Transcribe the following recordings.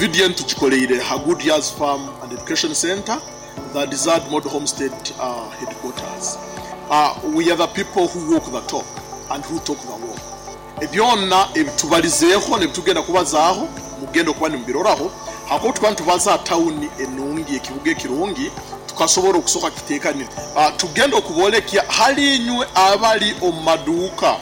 Vidiyo enu tugikoleire ha Good Years Farm and Education Center, the Desired Model Homestead headquarters. We are the people who walk the talk and who talk the walk. Byona ebitubalizeeho n'ebitugenda kubazaaho mugenda okuba nimubiroraho hakuba tukuba nitubaza ha tawuni enungi, ekibuga ekirungi, tukasobora okusoka kiteekanire. Tugenda okuboolekya hali inywe abali omu maduuka,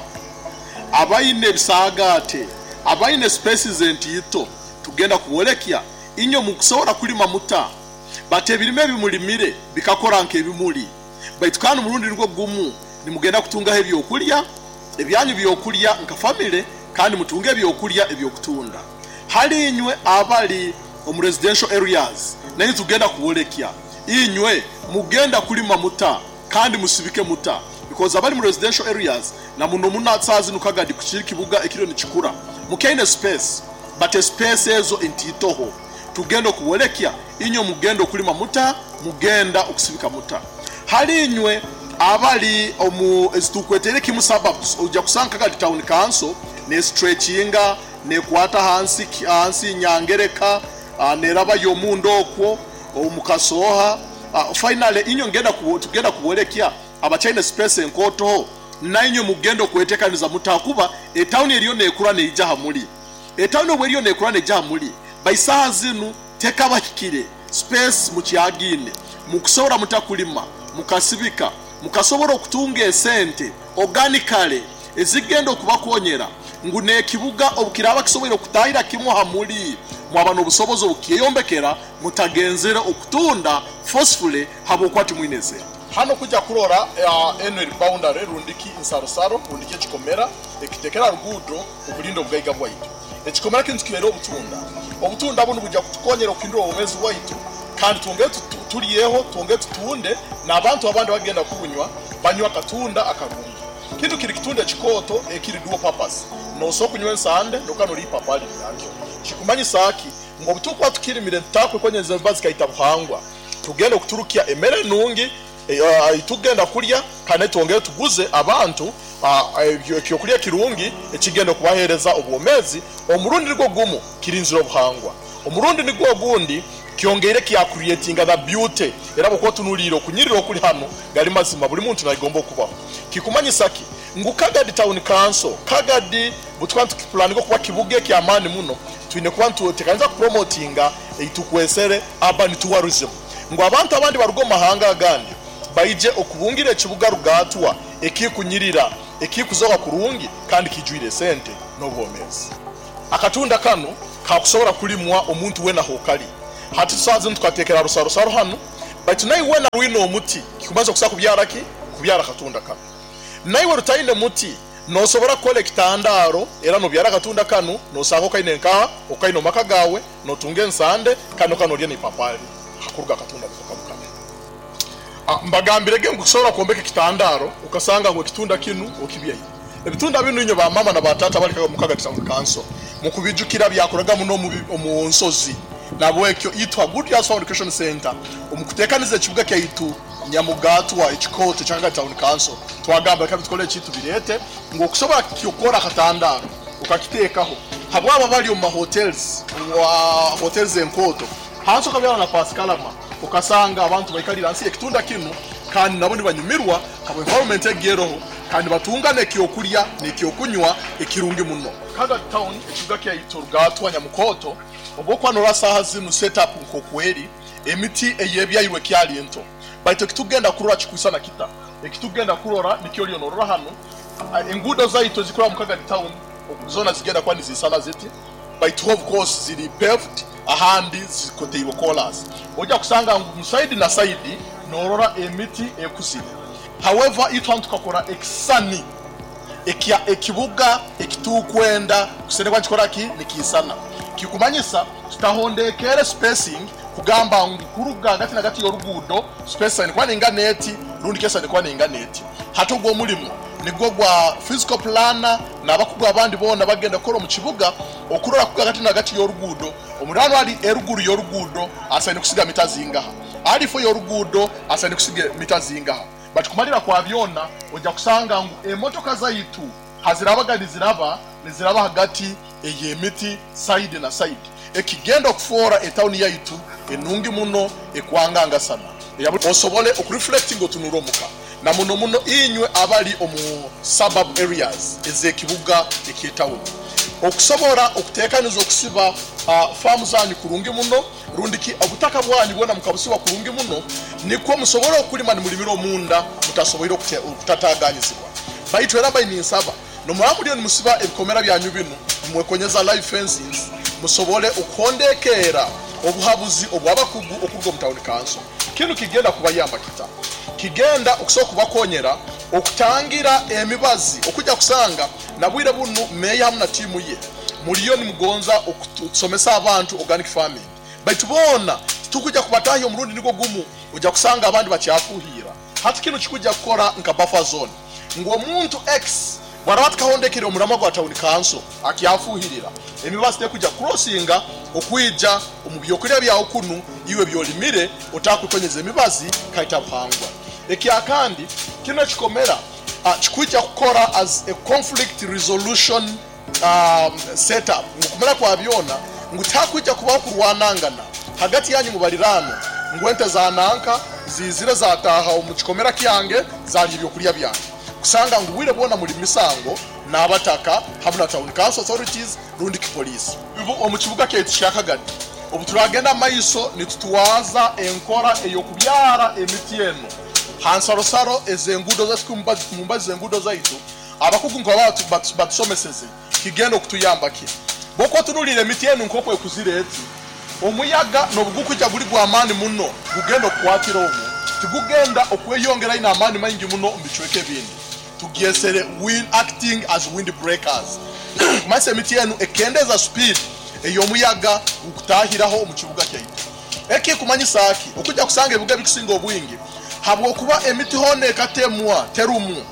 abaine ebisaagaate, abaine spaces entiito, tugenda kuboolekya inywe mukusobora kulima muta bati ebirime ebimulimire bikakora nk'ebimuli, baitu kandi omurundi nugwo gumu nimugenda kutungaho ebyokulya ebyanyu byokulya nka family kandi mutunge ebyokulya ebyokutunda. Hali inywe abali omu residential areas nainywe tugenda kubolekya inywe mugenda kulima muta kandi musibike muta because abali mu residential areas na muno muno saaha zinu Kagadi kukiri kibuga ekiriyo nikikura mukyaine space but espace ezo entiitoho tugenda okubolekya inywe mugenda okulima muta mugenda okusibika muta. Hali inywe abali omu ezitukweteire kimu suburbs oija kusanga Kagadi Town Council ne stretchinga nekwata hansi hansi Nyangereka nerabayo omunda okwo omu Kasooha. Finally inywe ngenda tugenda kubolekya abakyaine space enkootoho nainywe mugenda okwetekaniza muta kuba etauni eriyo nekura neija hamuli. Etauni obu eriyo nekura neija hamuli by saaha zinu tekabahikire space mukyagaine mukusobora muta kulima mukasibika mukasobora okutunga esente organically ezigenda okubakonyera ngu n'ekibuga obukiraaba kisoboire okutahira kimu ha muli mwaba n'obusobozi obukyeyombekera mutagenzere okutunda forcefully habwokuba timwine esente. Hanu kuja kurora enu eri boundary rundiki nsarosaro rundiki ekikomera ekitekera ruguudo okulinda obugaiga bwaitu. Ekikomera kinu tukihaire obutunda. Obutunda bunu bwija kutukonyera okuhindura obwomeezi bwaitu kandi twongere tulyeho, twongere tutunde n'abantu abandi abagenda kubunywa banywe akatunda akarungi. Kinu kiri kitunda ekikooto ekiri dual purpose. Nosobora kunywa ensande noka nolya ipapali lyakyo. Kikumanyisa ki? Ngu obutukuba tukirimire nitutakwekonyenza emibazi ikaita buhangwa. Tugenda okuturukya emere enungi eitugenda kulya kandi twongere tuguze abantu ekyokulya ekirungi ekigenda okubahereza obwomezi. Omurundi nigwo gumu kirinzire obuhangwa, omurundi nigwo ogundi kyongeire kya creatinga the beauty. Era bwokuba otunuliire okunyirira okuli hanu gali mazima buli muntu nayegomba okubaho. Kikumanyisa ki? Ngu Kagadi Town Council, Kagadi butukuba nitukipulaninga okuba kibuga ekyamaani muno, twine kuba nitutekaniza kupromotinga eitukwesere urban tourism ngu abantu abandi baruge omu mahanga agandi baije okubungira ekibuga Rugaatwa ekikunyirira, ekikuzoka kurungi kandi kijwire esente n'obwomezi. Akatunda kanu kakusobora kulimwa omuntu wena hokali. Hati saaha zinu tukatekera rusarosaro hanu, baitu naiwe wena rwine omuti kikumaze okusobora kubyara ki? Kubyara akatunda kanu. Naiwe rutaine muti nosobora kukora ekitandaaro era nobyara akatunda kanu nosanga okaine nkaha? Okaine omu maka gaawe, notunga ensande kandi noka nolya n'ipapali hakuruga akatunda niko kamu kanu. Mbagambirege ngu kusobora kwombeka ekitandaaro okasanga ngu ekitunda kinu okibyaire. Ebitunda binu inywe ba mama na ba taata abali omu Kagadi Town Council mukubijukira byakoraga muno omu nsozi. Nabwekyo itwe ha Good Years Farm Education Centre omu kutekaniza ekibuga kyaitu Nyamugatwa ekikooto ekya Kagadi Town Council twagamba leka bitukole eki tubireete ngu okusobora kukora akatandaaro okakiteekaho habwabo abali omu ma hotels, hotels enkooto hansi okabyara na pasikalama okasanga abantu baikalire hansi y'ekitunda kinu kandi nabo nibanyumirwa habwa environment egi eroho kandi nibatunga n'ekyokulya n'ekyokunywa ekirungi muno. Kagadi Town ekibuga kyaitu Rugaatwa Nyamukooto obwokuba norora saaha zinu set up nkokweri emiti eyebyairwe ekyali nto baitu ekitugenda kurora kikwisana kita? Ekitugenda kurora nikyo oliyo norora hanu enguudo zaitu ezikuraba mu Kagadi Town zona zigenda kuba nizisana ziti baitu of course ziri paved ahandi zikoteirwe koolaasi. Oija kusanga ngu mu saidi na saidi norora emiti ekuzire. However itwe hanu tukakora ekisisani ekya ekibuga ekitukwenda kusene kuba nikikora ki? Nikiisana. Kikumanyisa tutahondekeere spacing kugamba ngu kuruga hagati na hagati y'oruguudo space esaine kuba neingana eti rundi ki esaine kuba neingana eti. Hati ogwo omulimo nigwo gwa physical planner n'abakugu abandi boona abagenda kukora omu kibuga okurora kuruga hagati na hagati y'oruguudo omuriraanwa ali eruguru y'oruguudo asaine kusiga mita zingaha, ali ifo y'oruguudo asaine kusiga mita zingaha. Bati kumalira kwa byona oija kusanga ngu emotoka zaitu hazirabaga niziraba, niziraba hagati ey'emiti sayidi na sayidi. Ekigenda okufoora etawuni yaitu enungi muno ekwangangasana. Osobole okureflectinga otunure omuka na muno muno inywe abali omu suburb areas ez'ekibuga eky'etawuni okusobora okutekaniza okusiba faamu zanyu kurungi muno rundiki obutaka bwanyu bwona mukabusiba kurungi muno nikwo musobole okulima nimulimira omunda mutasoboire okutataganyizibwa. Baitu era mbaire ninsaba nomuraba muliyo nimusiba ebikomera byanyu binu nimwekonyeza live fencings musobole okuhondekeera obuhabuzi obw'abakugu okuruga omu tawuni kanso. Kinu kigenda kubayamba kita? Kigenda okusobola kubakonyera okutangira emibazi okujja kusanga na bwire bunu meeya hamu na tiimu ye muliyo nimugonza okusomesa abantu organic farming baitu boona titukujja kubatahya omurundi nigwo gumu ojja kusanga abandi bakyafuhiira. Hati kinu kikujja kukora nka buffer zone ngu omuntu X bwaraba atakahondekere omuramwa gwa tawuni kanso akyafuhirira emibazi tekujja kucrossinga okwija omu byokulya byawe kunu iwe byolimire otakwekonyeza emibazi kaita buhangwa. Ekyakandi kinu ekikomera kikujja kukora as a conflict resolution setup ngu kumara kwa byona ngu tihakwija kubaho kurwanangana hagati yanyu mubaliraano ngu ente za nanka zizire zataaha omu kikomera kyange zalya ebyokulya byange kusanga ngu bwire bwona muli misango n'abataka hamu na town council authorities rundi ki poliisi. Omu kibuga kyaitu kya Kagadi obu turagenda maiso nitutwaza enkora ey'okubyara emiti enu ha nsarosaro ez'enguudo zaitu mumbazi z'enguudo zaitu abakugu nka batusomeseze kigenda okutuyamba ki bwokuba otunuliire emiti enu nk'oku ekuzire eti omuyaga n'obugukujja guli gw'amaani muno gugenda okukwatira omu tigugenda okweyongera ine amaani maingi muno omu bicweka ebindi. Tugyesere wind acting as wind breakers kumanyisa emiti enu ekendeza speed ey'omuyaga gukutahiraho omu kibuga kyaitu. Eki kumanyisa ki? Okujja kusanga ebibuga ebikusinga obwingi habwokuba emiti hoona ekatemwa terumu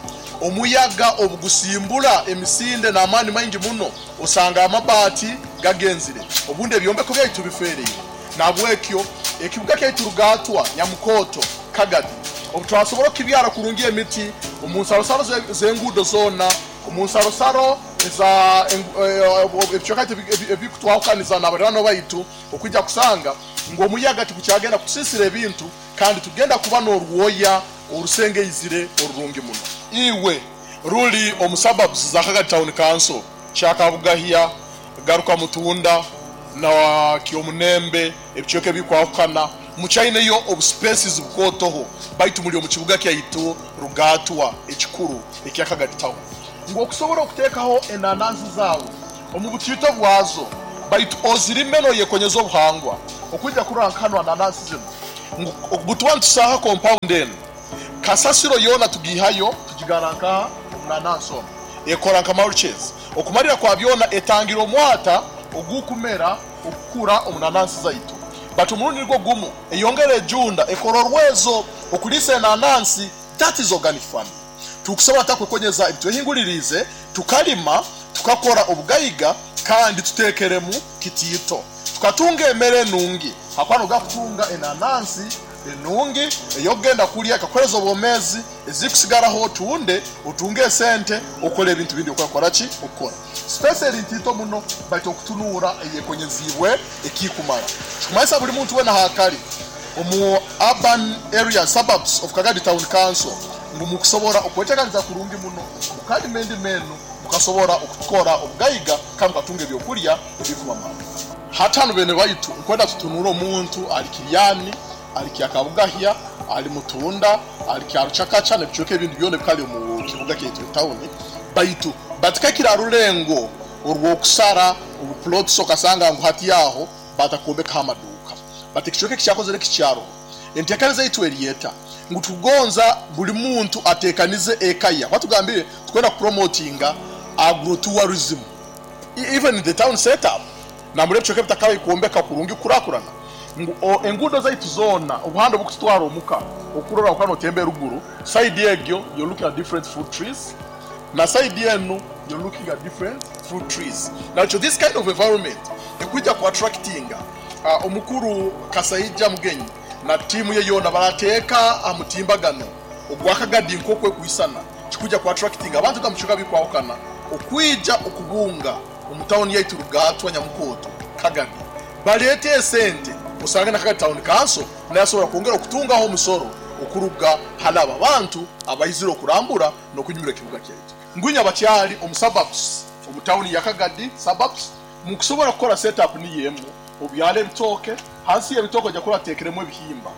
omuyaga obugusimbura emisinde n'amaani maingi muno osanga amabaati gagenzire obundi ebyombeko byaitu bifereire. Nahabwekyo ekibuga kyaitu Rugatwa, Nyamukoto, Kagadi obu twasobora okukibyara kurungi emiti omu nsarosaro z'enguudo zoona, omu nsarosaro eza ebicweka ebikutwahukaniza n'abaliraanwa baitu okwija kusanga ngu omuyaga tigukyagenda kutusisira ebintu kandi tugenda kuba n'orwoya orusengeizire orurungi muno. Iwe ruli omu suburbs za Kagadi Town Council, Kyakabugahya, Garuka Mutunda na Kyomunembe, ebicweka ebikwahukana mukyaineyo obu spaces bukootoho baitu muli omu kibuga kyaitu Rugatwa ekikuru ekya Kagadi Town ngu okusobora okuteekaho enanansi zaawe omu butiito bwazo baitu ozirime noyekonyeza obuhangwa okwija kurora nka hanu ananansi zinu ngu obutuba nitusaha compound enu kasasiro yoona tugiihayo tugigara nkaha omu nanansi omu ekora nka mulches okumalira kwa byona etangira omwata ogukumera okukura omu nanansi zaitu but omurundi nigwo gumu eyongera ejunda ekora orwezo okuliisa enanansi. That is organic farming. Tukusobora takwekonyeza ebitwehinguliriize tukalima tukakora obugaiga kandi tuteekeremu kitiito tukatunga emere enungi hakuba noga kutunga enanansi enungi ey'okugenda kulya ekakuhereza obwomeezi ezikusigaraho otunde otunge esente okole ebintu bindi okukora ki okukora space eri ntiito muno baitu okutunuura eyekonyeziibwe ekikumara kikumanyisa buli muntu wena hakali omu urban area suburbs of Kagadi Town Council ngu mukusobora okwetekaniza kurungi muno mukalima endima enu mukasobora okukora obugaiga kandi mukatunga ebyokulya ebikubamara. Hati hanu bene baitu nkwenda tutunure omuntu ali Kiryani, ali Kyakabugahya, ali Mutunda, ali Kyaruchakacha n'ebicweka ebindi byona ebikali omu kibuga kyaitu etawuni baitu batikakira rulengo orw'okusara obuplots okasanga ngu hati aho batakombekaho amaduuka bati ekicweka ekikyakozere kikyaroho. Enteekaniza yaitu eri eta ngu tukugonza buli muntu ateekanize eka ye kuba tugambire tukwenda kupromotinga agrotourism even in the town setup nambura ebicweka ebitakabaire kwombeka kurungi kukurakurana ngu enguudo zaitu zoona obuhanda obukututwara omuka okurora okuba notemba eruguru side egyo you're looking at different fruit trees na side enu you're looking at different fruit trees. Nakyo this kind of environment ekwija ku attractinga omukuru Kasaija Mugenyi na tiimu ye yoona barateeka aha mutimbagano ogwa Kagadi nk'oku ekwisana kikuja ku attractinga abantu ga mubicweka bikwahukana okwija okubunga omu tawuni yaitu Rugatwa Nyamukoto Kagadi. Baleete esente, osange na Kagadi Town Council nayo asobora kwongera okutungaho omusoro okuruga hali abo abantu abaizire okurambura n'okunyumira ekibuga kyaitu. Ngunya bakyali omu suburbs, omu tawuni ya Kagadi suburbs, mukusobora kukora set up niyo emu, obyale ebitooke, hansi y'ebitooke oija kurora ateekeremu ebihimba.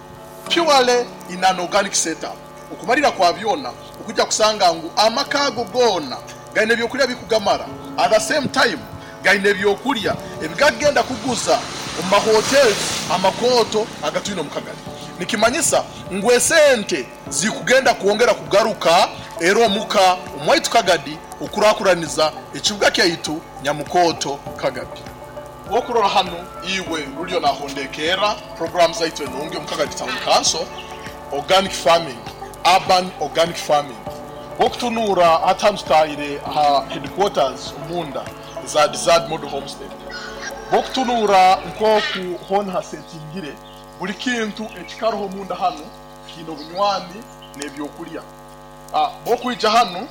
Purely in an organic set up. Okumalira kwa byona, okuija kusanga ngu amaka ago goona gaine ebyokulya bikugamara, at the same time gaine ebyokulya ebigakugenda kuguza omu ma hotels amakooto agatwine omu Kagadi. Nikimanyisa ngu esente zikugenda kwongera kugaruka era omuka omwaitu Kagadi okurakuraniza ekibuga kyaitu Nyamukooto Kagadi. Wokurora hanu iwe ruliyo nahondekerra program zaitu enungi omu Kagadi Town Council, Organic Farming, Urban Organic Farming. Wokutunuura hati hanu tutahire aha headquarters omunda eza Desired Model Homestead. Wokutunuura nkoku hoona hasetingire, buli kintu ekikaroho omunda hanu kiine obunywani n'ebyokulya. Bwokwija hanu,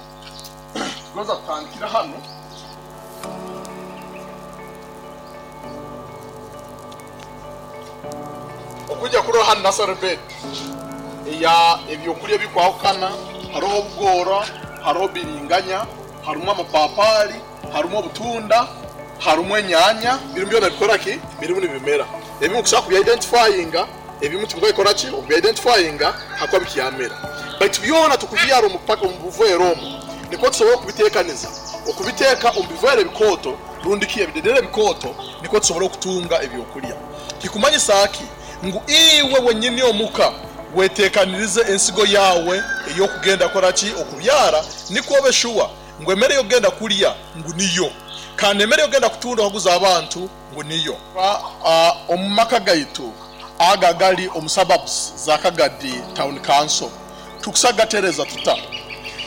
tugonza kutandikira hanu. Okwija kurora hanu nursery bed eya ebyokulya ebikwahukana, haroho obugoora, haroho biringanya, harumu amapapali, harumu obutunda, harumu enyanya, birimu byona bikora ki? Birimu nibimera. Ebimu kusobora kubya identifyinga, ebimu tibikora ki? Okubya identifyinga hakuba bikyamera. Baitu byona tukubyara omu paka omu buveera omu nikwo tusobora okubitekaniza, okubiteeka omu biveera ebikooto rundi ki ebidedere ebikooto nikwo tusobora okutunga ebyokulya. Kikumanyisa ki? Ngu iwe wenyini omuka wetekanirize ensigo yaawe ey'okugenda kukora ki? Okubyara, nikwo obe shuwa ngu emere ey'okugenda kulya ngu niyo, kandi emere ey'okugenda kutunda okaguza abantu ngu niyo. Omu maka gaitu ago agali omu suburbs za Kagadi Town Council, tukusa kugatereza tuta?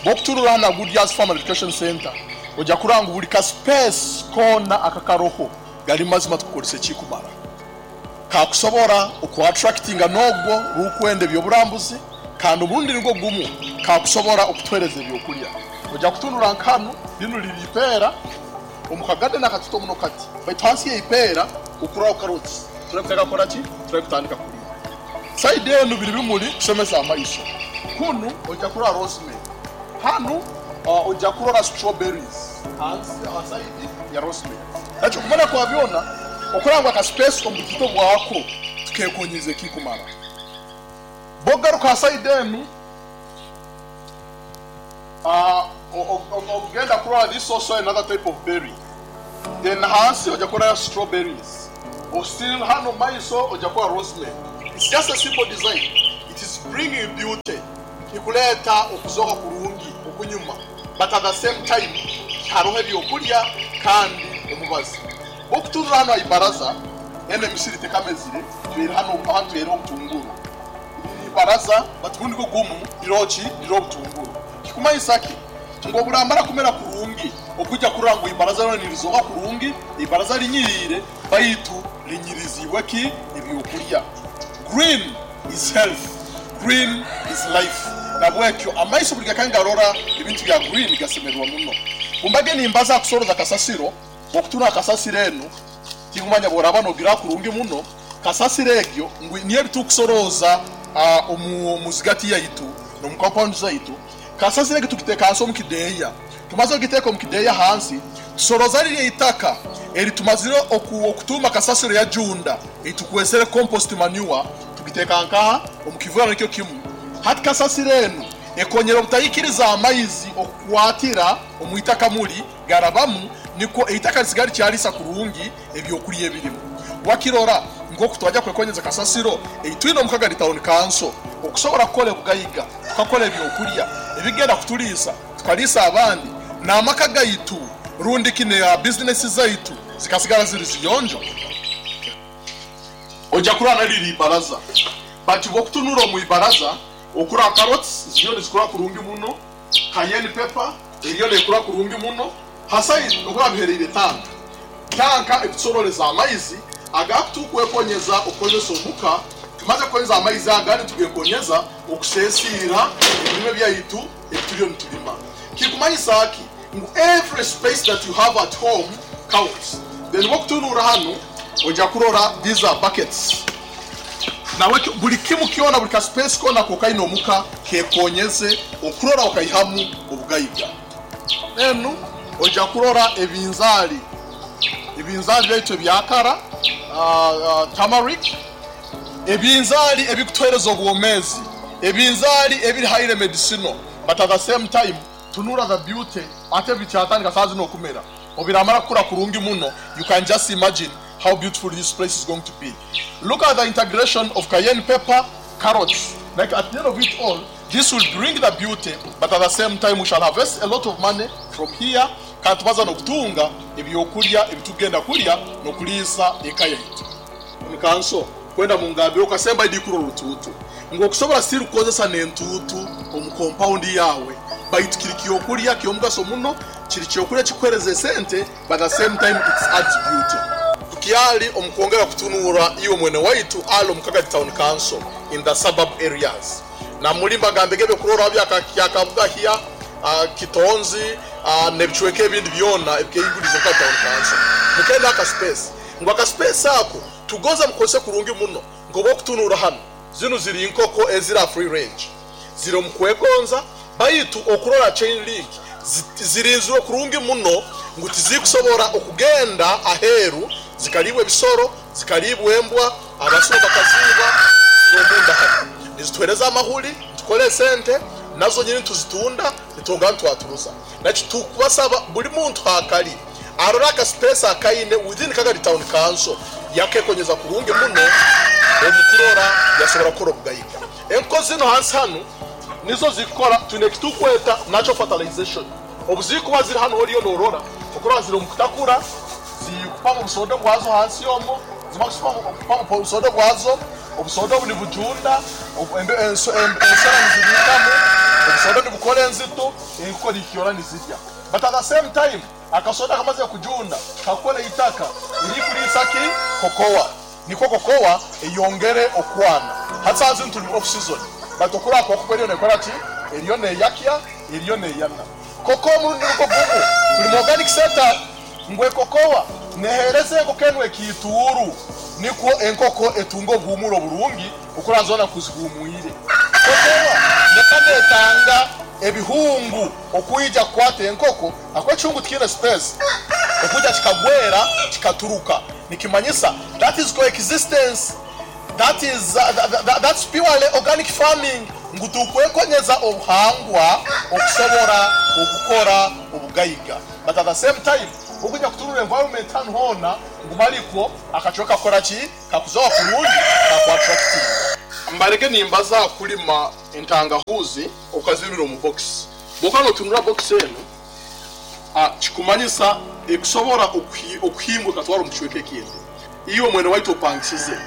Bwokuturura hanu aha Good Years Farm and Education Centre, oja kurora ngu buli ka space koona akakaroho gali mazima tukukoresa ekikumara. Kakusobora oku attractinga n'ogwo rukwenda eby'oburambuzi kandi omurundi nigwo gumu kakusobora okutuhereza ebyokulya. Oja kutunura nka hanu, linu liri ipeera omu ka garden akatito muno kati, baitu hansi y'eipeera okuraho carrots turakutandika kukora ki? Turakutandika kulima. Side enu biri bimuli kusemeza amaiso. Kunu oija kurora rosemary. Hanu oija kurora strawberries hansi ha side ya rosemary. Nakyo kumara kwa byona, okurora ngu aka space omu butito bwako tukekonyize ekikumara. Bwokugaruka ha side enu, ogenda kurora this also another type of berry. Then hansi oija kurorayo strawberries. Still hanu omu maiso oija kurora rosemary. It's just a simple design. It is bringing beauty. Kikuleeta okuzooka kurungi okunyuma but at the same time haroho ebyokulya kandi omubazi. Bwokuturra hanu aha ibaraza, enu emisiri tekamezire, twire hanu aha twaireho obutunguru. Riri ibaraza but gunu nigwo gumu riroho ki? Riroho obutunguru. Kikumanyisa ki? Ngu oburamara kumera kurungi, okwija kurora ngu ibaraza ryona nirizooka kurungi, ibaraza linyiriire baitu linyiriziibwe ki? Ebyokulya. Green is health, green is life. Nabwekyo amaiso buli gakaba nigarora ebintu bya green gasemererwa muno. Bumbage nimbaza aha kusoroza kasasiro, bwokutunga kasasiro enu tinkumanya bworaba nogira kurungi muno, kasasiro egyo ngu niyo ebitukusoroza omu zigati yaitu nomu compound zaitu. Kasasiro egi tugiteeka hansi omu kideeya. Tumaze ogiteeka omu kideeya hansi, tusoroza rirya itaka eri tumazire okutuuma kasasiro yajunda ei tukwesere compost manure, tugiteeka nkaha? Omu kiveera nikyo kimu. Hati kasasiro enu ekonyera obutaikiriza amaizi okukwatira omu itaka muli garabamu nikwo eitaka risigara rikyarisa kurungi ebyokulya ebirimu. Wakirora nk'oku twaja kwekonyeza kasasiro ei twine omu Kagadi Town Council okusobora kukora ebugaiga, tukakora ebyokulya ebigenda kutuliisa, tukaliisa abandi n'amaka gaitu rundi ki ne bizinesi zaitu zikasigara ziri ziyonjo? Oja kurora na riri ibaraza but bwokutunura omu ibaraza okurora carrots ziriyo nizikura kurungi muno, cayenne pepper eriyo nekura kurungi muno, ha side okurora bihereire tanka. Tanka ekutusororeza amaizi agakutukwekonyeza okukozesa omuka. Tumaze kukozesa amaizi aga nitugekonyeza okusesiira ebirime byaitu ebituriyo nitulima. Kikumanyisa ki? Ngu every space that you have at home counts. Then bwokutunuura hanu. Ojja kurora these are buckets. Nawe buli kimu kyona, buli kaspace kona kokaine omuka kekonyeze okurora okaihamu obugaiga. Enu ojja kurora ebinzaali, ebinzaali byaitu ebyakara, turmeric, ebinzaali ebikutuhereza obwomezi, ebinzaali ebiri highly medicinal, but at the same time tunura the beauty. Ate bikyatandika saa zino okumera, obiramara kukura kurungi muno, you can just imagine how beautiful this place is going to be. Look at the integration of cayenne pepper, carrots. Like at the end of it all, this will bring the beauty, but at the same time we shall harvest a lot of money from here. Kandi tubaza n'okutunga ebyokulya ebitugenda kulya n'okuliisa eka yaitu. Omukanso kwenda mungambire okasemba idikura orutuutu ngu okusobora siri kukozesa n'entuutu omu compound yawe, baitu kiri kyokulya ky'omugaso muno, kiri kyokulya kikuhereza esente, but at the same time it adds beauty. Tukyali omu kwongera kutunura iwe mwene waitu ali omu Kagadi Town Council in the suburb areas. Na muri mbagambege ebyokurorraho bya Kabugahya, Kitonzi, n'ebicweka ebindi byona ebikehingurize omu Kagadi Town Council. Mukenda aka space. Ngu aka space ako tugonza mukozese kurungi muno nkoba okutunura hanu. Zinu ziri nkoko ezira free range. Ziri omu kwegonza, baitu okurora chain link zirinzirwe kurungi muno ngu tizikusobora okugenda aheeru zikalibwa ebisoro, zikalibwa embwa, abasuma bakaziiba. Ziri omunda hanu nizituhereza amahuri, nitukora esente nazo nyini, tuzitunda nitwongera nitwaturuza. Nakyo tukubasaba buli muntu hakali arora aka space akaine within Kagadi Town Council yakekonyeza kurungi muno omukurora yasobora kukora obugaiga. Enko zino hansi hanu nizo zikora twine ekitukweta natural fertilization. Obuzikuba ziri hanu oriyo norora okurora ziri omu kutakura, zikupamu obusodo bwazo hansi omwo, zimara kupamu obusodo bwazo, obusodo obu nibujunda, ensera nizibikamu, obusodo nibukora enzito, enkoko nikyora nizirya. But at the same time akasoda kamaze kujunda kakora itaka irikulisa ki kokowa, niko kokowa eyongere okwana. Hati zino tuli off season, but okura kokowa eriyo nekora ki, eriyo neyakya, eriyo neyana. Kokowa murundi nuko gumu tuli mu organic setup, ngwe kokowa nehereze enkoko enu ekituuru, nikwo enkoko etunga obuhumuro burungi okuranzona kuzihumwire. Kokowa nekanetanga ebihungu okuija kukwata enkoko, akwa ekihungu tikine space okuija kikagwera kikaturuka, nikimanyisa that is coexistence, that is that's purely organic farming. Ngu tukwekonyeza obuhangwa okusobora okukora obugaiga, but at the same time okuja kuturura environment hanu hona ngu malikwo akacweka kukora ki kakuzoa kurungi kakuattracting. Mbareke nimbaza kulima entangahuzi okazimira omu box. Bwokaba notunura box eno, kikumanyisa ekusobora okuhimbwa ekatwara omu kicweka ekindi. Iwe mwene waitu opangisize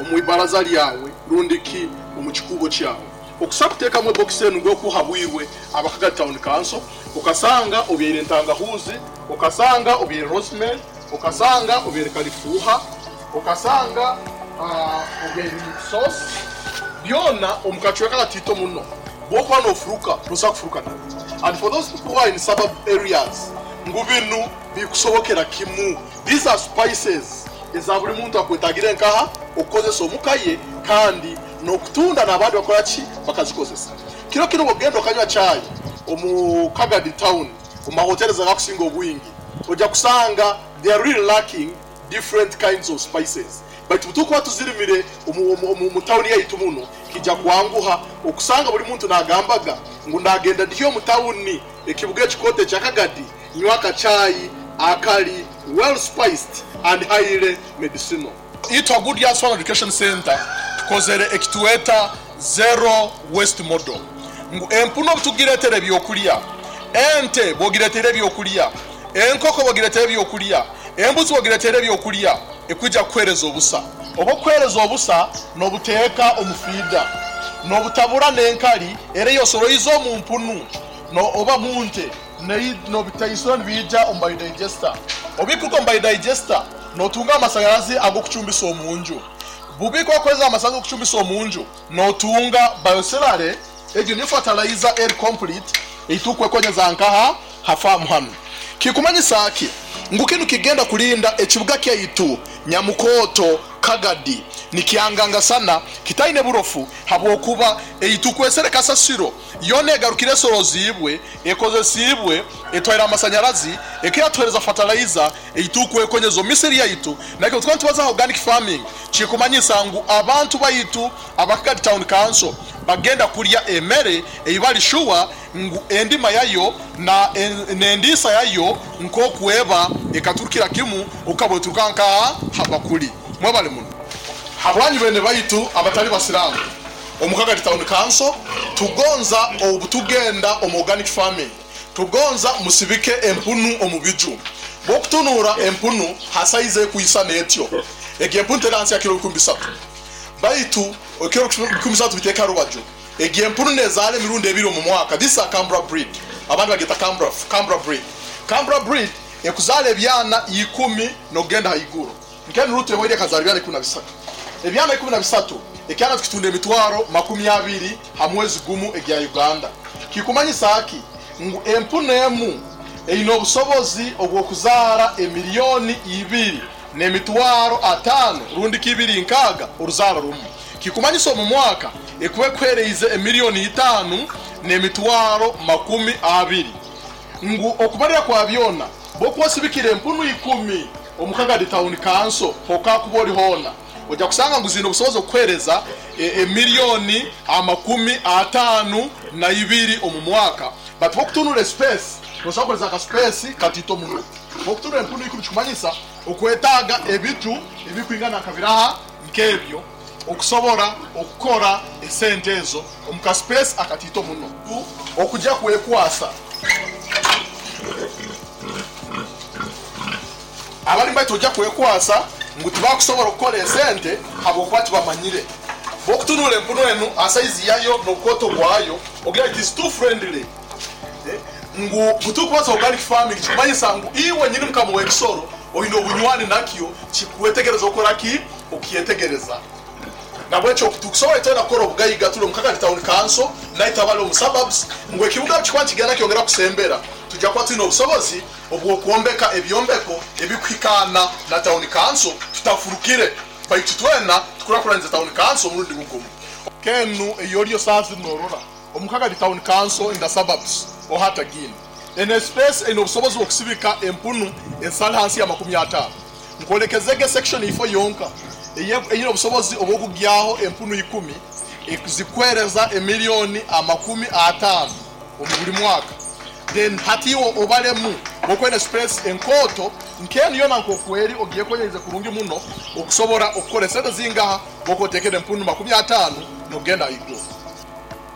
omu ibaraza lyawe rundi ki omu kikubo kyawe, okusa kuteekamu ebox enu ng'okuhabwirwe abakagadi Town Council, okasanga obyaire entangahuzi, okasanga obyaire rosemary, okasanga obyaire kalifuuha, okasanga obyaire sauce, byona omu kacweka katito muno. Bwokuba nofuruka nosobola kufuruka nabyo. And for those people who are in suburb areas, ngu binu bikusobokera kimu. These are spices eza buli muntu akwetagire nkaha okukozesa omuka ye, kandi n'okutunda n'abandi bakora ki bakazikozesa. Kiro kino bwogenda okanywa chai omu Kagadi Town, omu mahoteli agakusinga obwingi, ojja kusanga they are really lacking different kinds of spices. Baitu tukuba tuzirimire omu tawuni yaitu muno, kijja kwanguha okusanga buli muntu nagambaga ngu ndagenda ndiyo omu tawuni ekibuga ekikoto ekya Kagadi nywa akachai akali well spiced and highly medicinal. Itwa Good Yards Farm Education Center tukozere ekituweta zero waste model. Ngu empuno obutugiretera ebyokulya, ente bwogiretera ebyokulya, enkoko bwogiretera ebyokulya, embuzi bwogiretera ebyokulya, ekwija kukuhereza obusa. Oba okuhereza obusa nobuteeka omu feeder, nobutabura n'enkali era eyosoroize omu mpunu oba mu nte, nobitaisura nibija omu biodigester. Obikuruka omu biodigester notunga amasanyarazi ag'okucumbisa omu nju. Bubika okozesa amasanyarazi ag'okucumbisa omu nju, notunga bioslurry, egyo ni fertilizer eri complete eitukwekonyeza nkaha ha farm hanu. Kikumanyisa ki? Ngu kinu kigenda kulinda ekibuga kyaitu Nyamukoto Kagadi nikyangangasana kitaine burofu, habwokuba eitukwesere kasasiro yona egarukire esoroziibwe, ekozesiibwe, etwaire amasanyarazi, ekeyatuhereza fertilizer eitukwekonyeza omu misiri yaitu. Nakyo tukuba nitubaza organic farming, kikumanyisa ngu abantu baitu aba Kagadi Town Council bagenda kulya emere eibali shuwa ngu endima yayo na nendiisa yayo nkokweba ekaturukira kimu okabweturuka nkaha habakuli. Mwebale muno. Habwanyu bene baitu abatali basiramu omu Kagadi Town Council, tugonza obutugenda omu organic farming, tugonza musibike empunu omu biju. Bwokutunura empunu hasaize ekuisana etyo, egi empunu teri hansi ya kilo 3,000, baitu kilo 3,000 biteka rubaju. Egi empunu nezaala emirundi ebiri omu mwaka. This is a Cambra breed, abandi bageta Cambra breed. Cambra breed ekuzaala ebyana 10 nokugenda haiguru. Nkeni ruto ewaire ekazaala ebyana 13. Ebyana 13 ekyana tukitunda emitwaro 20 ha mwezi gumu egya Uganda. Kikumanyisa aki? Ngu empunu emu eine obusobozi obw'okuzaara emiliyoni 2 n'emitwaro 5 rundi kibiri nkaaga oruzaaro rumu. Kikumanyisa omu mwaka ekuba ekuhereize emiliyoni 5 n'emitwaro 20. Ngu okubalira kwa byona bwokwosibikira empunu 10 omu Kagadi Town Council hokakuba ori hoona, ojja kusanga ngu zine obusobozi okuhereza emiliyoni 52 omu mwaka. But bwokutunura space, nosobola kukoleza aka space katito muno. Bwokutunura empunu 10 kikumanyisa okwetaaga ebiju ebikwingana nkabiraha nkebyo okusobora okukora esente ezo omu ka space akatito muno. Okujja kwekwasa abali baitu ojja kwekwasa ngu tibakusobola okukora esente habwokuba tibamanyire. Bwokutunura empunu enu asaizi yayo n'obukoto bwayo ogira it is too friendly. Ngu butukubaza organic farming kikumanyisa ngu iwe nyini mukama w'ekisoro oine obunywani nakyo, kikwetegereza okora ki okyetegereza. Nabwekyo tukusobola itwena kukora obugaiga tuli omu Kagadi Town Council naitwe abali omu suburbs, ngu ekibuga kikuba nikigenda kyongera kusembera, tujja kuba twine obusobozi obw'okwombeka ebyombeko ebikuhikaana na Town Council tutafurukire, baitu twena tukurakuranize Town Council omurundi gugumu. Kenu eyolyo saazi norora omu Kagadi Town Council in the suburbs ohatagine ene space ene obusobozi bw'okusibika empunu ensali hansi ya 50. Nkolekezege section ifo yonka eyine obusobozi obw'okugyaho empunu 10 zikwereza emiliyoni 50 omu buli mwaka. Then hatiwo obalemu bwokwene space enkoto nkeni yona nkokweri ogiye konyerize kurungi muno okusobora okukora esente zingaha bwokotekere empunu 50 nogenda iguru.